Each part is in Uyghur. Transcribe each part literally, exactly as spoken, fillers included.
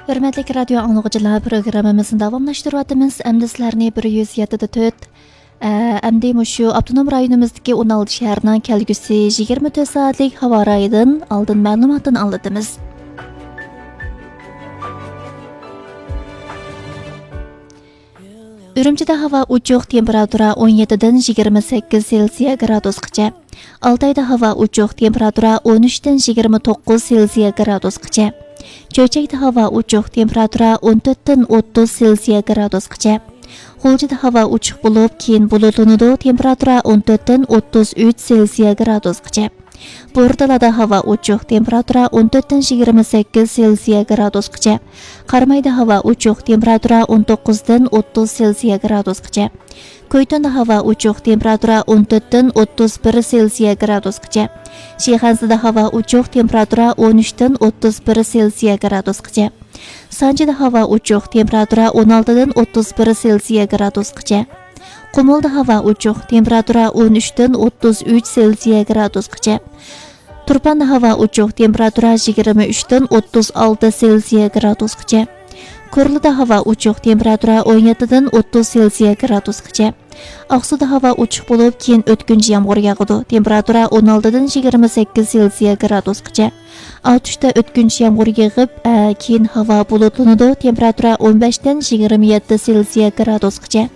ھۆرمەتلىك رادىيو ئاڭلىغۇچىلار، پروگراممىمىزنى داۋاملاشتۇرۇۋاتىمىز. ئەمدى سىلەرنى بىر يۈز يەتتە دە تۆت، ئە، ئەمدى مۇشۇ ئاپتونوم رايونىمىزدىكى ئون ئالتە شەھەرنىڭ كەلگۈسى يىگىرمە تۆت سائەتلىك ھاۋا رايىدىن ئالدىن مەلۇماتتىن ئاڭلىتىمىز. ئۈرۈمچىدە ھاۋا ئوچۇق، تېمپېراتۇرا ئون يەتتىدىن يىگىرمە سەككىز سېلسىيە گرادۇسقىچە. ئالتايدا ھاۋا ئوچۇق، تېمپېراتۇرا ئون ئۈچتىن يىگىرمە توققۇز سېلسىيە گرادۇسقىچە. چۆچەكتە ھاۋا ئوچۇق، تېمپېراتۇرا ئون تۆتتىن ئوتتۇز سېلسىيە گرادۇسقىچە. غۇلجىدا ھاۋا ئوچۇق بولۇپ، كېيىن بۇلۇتلىنىدۇ، تېمپېراتۇرا ئون تۆتتىن ئوتتۇز ئۈچ سېلسىيە گرادۇسقىچە. بورتالادا ھاۋا ئوچۇق، تېمپېراتۇرا ئون تۆتتىن يىگىرمە سەككىز سېلسىيە گرادۇسقىچە. قارامايدا ھاۋا ئوچۇق، تېمپېراتۇرا ئون توققۇزدىن ئوتتۇز سېلسىيە گرادۇسقىچە. كويتۇندا ھاۋا ئوچۇق، تېمپېراتۇرا ئون تۆتتىن ئوتتۇز بىر سېلسىيە گرادۇسقىچە. شىخەنزىدە ھاۋا ئوچۇق، تېمپېراتۇرا ئون ئۈچتىن ئوتتۇز بىر سېلسىيە گرادۇسقىچە. سانجىدا ھاۋا ئوچۇق، تېمپېراتۇرا ئون ئالتىدىن ئوتتۇز بىر سېلسىيە گرادۇسقىچە. قۇمۇلدا ھاۋا ئوچۇق، تېمپېراتۇرا ئون ئۈچتىن ئوتتۇز ئۈچ سېلسىيە گرادۇسقىچە. تۇرپاندا ھاۋا ئوچۇق، تېمپېراتۇرا يىگىرمە ئۈچتىن ئوتتۇز ئالتە سېلسىيە گرادۇسقىچە. كورلىدا ھاۋا ئوچۇق، تېمپېراتۇرا ئون يەتتىدىن ئوتتۇز سېلسىيە گرادۇسقىچە. ئاقسۇدا ھاۋا ئوچۇق بولۇپ، كېيىن ئۆتكۈنچى يامغۇر ياغىدۇ. تېمپېراتۇرا ئون ئالتىدىن يىگىرمە سەككىز سېلسىيە گرادۇسقىچە. ئاتۇشتا ئۆتكۈنچى يامغۇر يېغىپ، ئە، كېيىن ھاۋا بۇلۇتلىنىدۇ. تېمپېراتۇرا ئون بەشتىن يىگىرمە يەتتە سېلسىيە گرادۇسقىچە.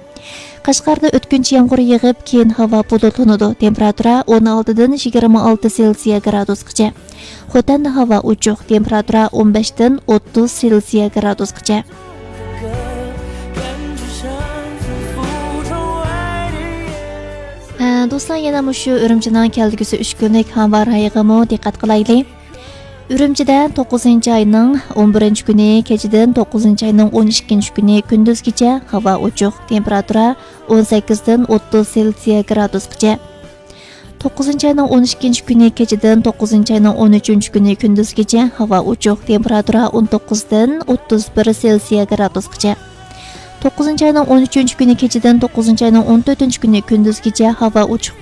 قەشقەردە ئۆتكۈنچى يامغۇر يېغىپ، كېيىن ھاۋا بۇلۇتلىنىدۇ. تېمپېراتۇرا ئون ئالتىدىن يىگىرمە ئالتە سېلسىيە گرادۇسقىچە. خوتەندە ھاۋا ئوچۇق، تېمپېراتۇرا ئون بەشتىن ئوتتۇز سېلسىيە گرادۇسقىچە. ئە، دوستلار، يەنە مۇشۇ ئۈرۈمچىنىڭ كەلگۈسى ئۈچ كۈنلۈك ھاۋا رايىغىمۇ دىققەت قىلايلى. ئۈرۈمچىدە توققۇزىنچى ئاينىڭ ئون بىرىنچى كۈنى كېچىدىن توققۇزىنچى ئاينىڭ ئون ئىككىنچى كۈنى كۈندۈزگىچە ھاۋا ئوچۇق، تېمپېراتۇرا ئون سەككىزدىن ئوتتۇز سېلسىيە گرادۇسقىچە. توققۇزىنچى ئاينىڭ ئون ئىككىنچى كۈنى كېچىدىن توققۇزىنچى ئاينىڭ ئون ئۈچىنچى كۈنى كۈندۈزگىچە ھاۋا ئوچۇق، تېمپېراتۇرا ئون توققۇزدىن ئوتتۇز بىر سېلسىيە گرادۇسقىچە. توققۇزىنچى ئاينىڭ ئون ئۈچىنچى كۈنى كېچىدىن توققۇزىنچى ئاينىڭ ئون تۆتىنچى كۈنى كۈندۈزگىچە ھاۋا ئوچۇق